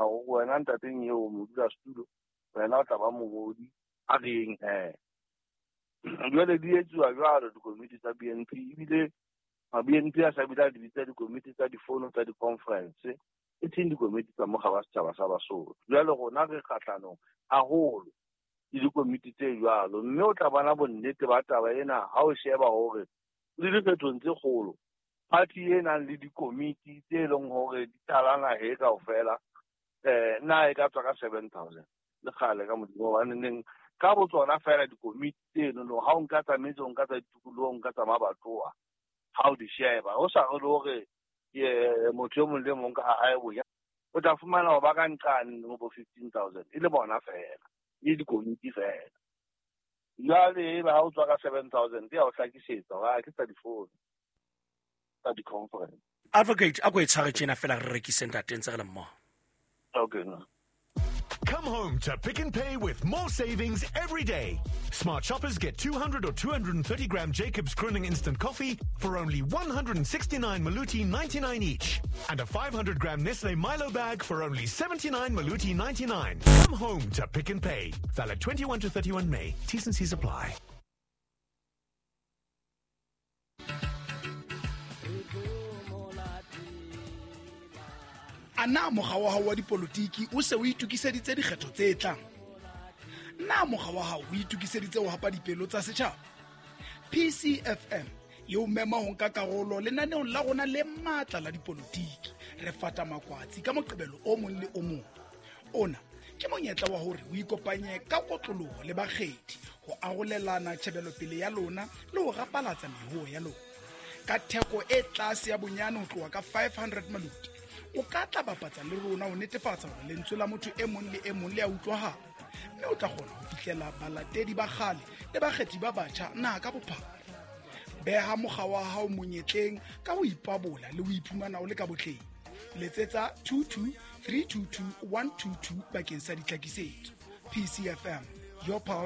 Hore wena ntateng eo modulasetulo, wena o tla ba mongodi, a re yeng he. Jwale di etsuwa jwalo dikomiti tsa BNP, ebile ma BNP a sa bile a di bitsa dikomiti tsa difono tsa di-conference, e seng dikomiti tsa mokga wa setjhaba sa Basotho. Jwale rona re kgahlanong haholo le dikomiti tse jwalo, mme o tla bona bonnete ba taba ena ha o sheba hore le dikgethong tse kgolo party e nang le dikomiti tse leng hore di tlala naha kaofela, na e ka tswa ka 7000 le kgale ka Modimo, hobane neng ka botsona fela dikomiti tseno no, ha o nka tsa metse, o nka tsa ditikoloho, o nka tsa mabatowa, ha o di sheba ho sa re le hore motho e mong le mong ka ha hae bonya, o tla fumana ho ba ka nqane ho bo 15,000 e le bona fela, e le dikomiti fela. Jwale ebe ha o tswa ka 7000 ya o hlakisetsa hore ke tsa difono tsa di-conference. Advocate, a ko e tshware tjena fela re rekise ntate ntse re le mmoho. Okay, no. Come home to Pick n Pay with more savings every day. Smart shoppers get 200 or 230 gram Jacobs Kroning instant coffee for only 169 Maluti 99 each. And a 500 gram Nestle Milo bag for only 79 Maluti 99. Come home to Pick n Pay. Valid 21 to 31 May. T's and C's apply. A na mokga wa hao wa dipolotiki o se o itokiseditse dikgetho tse tlang? Na mokga wa hao o itokiseditse ho hapa dipelo tsa setjhaba? PCFM e o mema ho nka karolo lenaneong la rona le matla la dipolotiki. Re fata makwatsi ka Moqebelo o mong le o mong. Ona ke monyetla wa hore o ikopanye ka kotloloho le bakgethi ho arolelana tjhebelopele ya lona le ho rapalatsa mehoo ya lona. Ka theko e tlase ya bonyane ho tloha ka 500 maluti, o ka tla bapatsa le rona ho netefatsa hore lentswe la motho e mong le e mong le a utlwahala, mme o tla kgona ho fihlela balatedi ba kgale le bakgethi ba batjha naha ka bophara. Beha mokga wa hao monyetleng ka ho ipabola le ho iphumana o le ka botleng. Letsetsa 22 322 122 bakeng sa ditlhakisetso. PCFM, your pulse.